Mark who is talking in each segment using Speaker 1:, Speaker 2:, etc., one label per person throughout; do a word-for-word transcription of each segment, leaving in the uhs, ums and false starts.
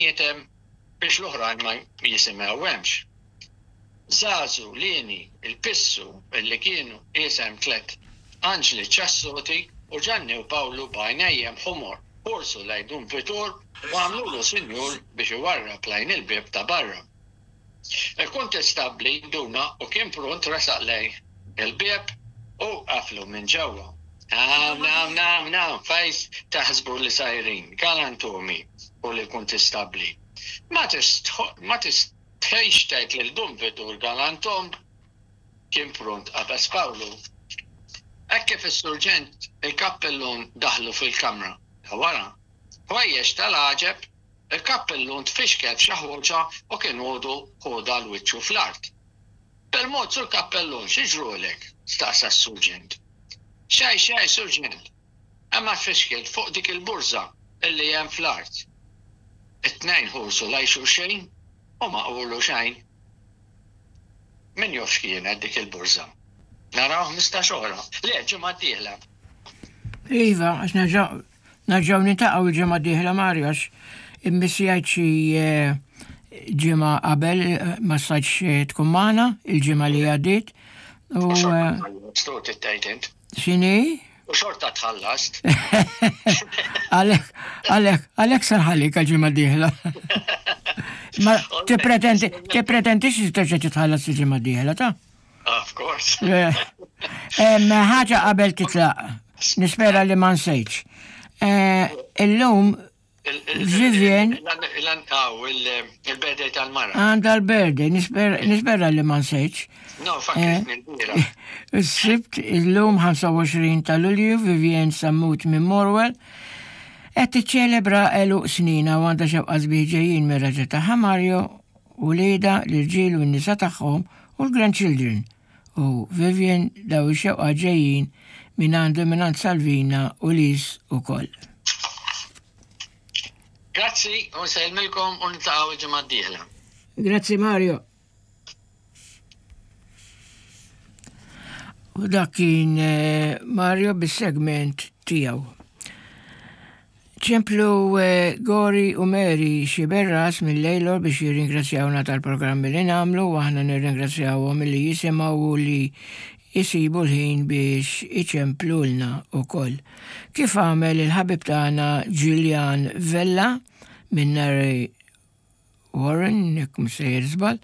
Speaker 1: Hemm biex l-oħrajn ma jisimgħuhemx. Zazu, Lini, il-Pissu, illi kienu isem tlet Anġli Ċassoti u Ġanni u Pawlu b'għajnejjem ħomor ħorsu lejn Dun Vitur u għamlulu sinjur biex iwarrab lejn il-bieb ta' barra. Il-kontestabli nduna u kien pront resaq lejn il-bieb u qaflu minn ġewwa. Nam, nam, nam, nam, fejn taħsbu li sejrin, galantomi u li kontestabli. Ma tistħix tgħid lil Dun Vitur galantom, kien pront qabeż Pawlu. Hekk kif is-surġent il-kappellun daħlu fil-kamra ta' wara. Ħwejjeġ tal-għaġeb, il-kappellun tfixkel f'xi ħoġa u kien għodu ħoda l-wiċċu fl-art. Bil-mod, sur kappellun, xi ġrulek? Staqsa s-surġent. Xej, xej, surġent. Imma tfixkilt fuq dik il-burża illi hemm fl-art. It-tnejn ħursu lejn xulxin u ma qulu xejn. Min jaf x'kienet dik il-burża? Naraw ħmistax oħra. Le, ġimgħa d-dieħla.
Speaker 2: Iva, għax nerġgħu niltaqgħu il-ġimgħa d-dieħla, Mario, għax immissjajt xi eh, ġimgħa qabel, eh, ma stajtx eh, tkun magħna il-ġimgħa li għaddiet. U
Speaker 1: Stut it-tgħid int.
Speaker 2: X'inhi?
Speaker 1: U xorta tħallast.
Speaker 2: Għalek, għalek, għalek sarħalik għal-ġimgħa d-dieħla. Ma tippretendi, tipretendix li terġa' titħallas il-ġimgħa d-dieħla ta'
Speaker 1: Of course.
Speaker 2: Em, ħaġa qabel titlaq, nispera li ma nsejtx. Eh, Illum Vivian
Speaker 1: Il-birthday tal-mara.
Speaker 2: Għandha l-birthday, nispera li ma nsejtx.
Speaker 1: No, fakritni l-bieraħ.
Speaker 2: Is-Sibt illum ħamsa u għoxrin ta' Lulju, Vivian Sammut minn Morwell qed tiċċelebra għeluq snina u għandha xewqa sbieħ ġejjin mir-raġel tagħha Mario u wliedha l-irġiel u n-nisa tagħhom u l-grandchildren. U Vivian, daw ix-xewqa ġejjin minn għandu minn għand Salvina u Lis ukoll.
Speaker 1: Grazzi, u nsellmilkom u niltaqgħu il-ġimgħa d-dieħla.
Speaker 2: Grazzi, Mario. U dak kien eh, Mario bis-segment tiegħu. Ċemplu eh, Gori u Mary Xiberras mill-Lejlor biex jirringrazzjawna tal-programmi li nagħmlu u aħna nirringrazzjawhom li jisimgħu u li jisibu l-ħin biex iċemplulna ukoll. Kif għamel il-ħabib tagħna Julian Vella minn Narre Warren, jekk mhux sejjer żball,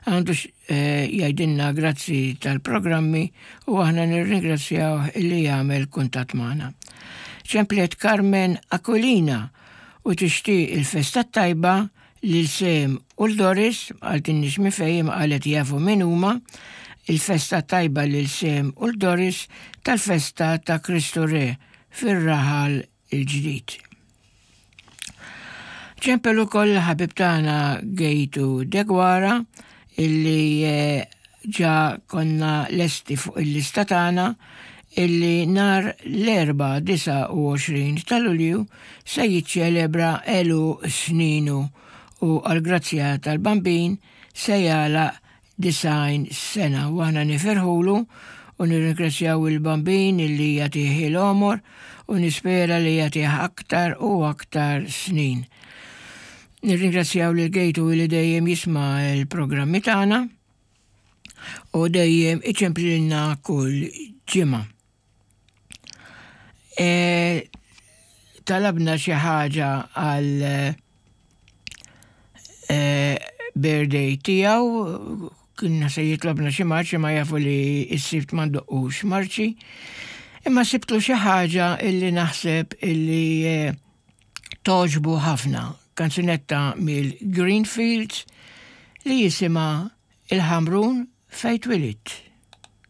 Speaker 2: għandu eh, jgħidilna grazzi tal-programmi u aħna nirringrazzjaw illi jagħmel kuntatt magħna. Ċemplet Carmen Aquilina u tixtieq il-festa tajba lil Sem u l-Doris, qaltilniex minn fejn, qalet jafu min huma, il-festa tajba lil Sem u l-Doris tal-festa ta' Kristu Re fir-Raħal il-Ġdid. Ċempel ukoll ħabib tagħna Gejtu Degwara illi eh, ġa konna lesti fuq il-lista tagħna illi nhar l-Erbgħa disgħa u għoxrin ta' Lulju se jiċċelebra għeluq sninu u għal-grazzja tal-Bambin se jagħlaq disgħin sena u aħna nifirħulu u nirringrazzjaw il-Bambin illi jagħtih il-għomor u nispera li jagħtih aktar u aktar snin. Nirringrazzjaw lil Gejtu li dejjem jisma' il-programmi tagħna u dejjem iċemplilna kull ġimgħa. E, talabna xi ħaġa għal e, birthday tiegħu, kienna se jitlobna xi marċi, ma jafu li s-Sibt ma ndoqqux marċi. Imma sibtlu xi ħaġa illi naħseb illi e, togħġbu ħafna. Kanzunetta mill-Greenfields li jisimha Il-Ħamrun Fejn Twelidt.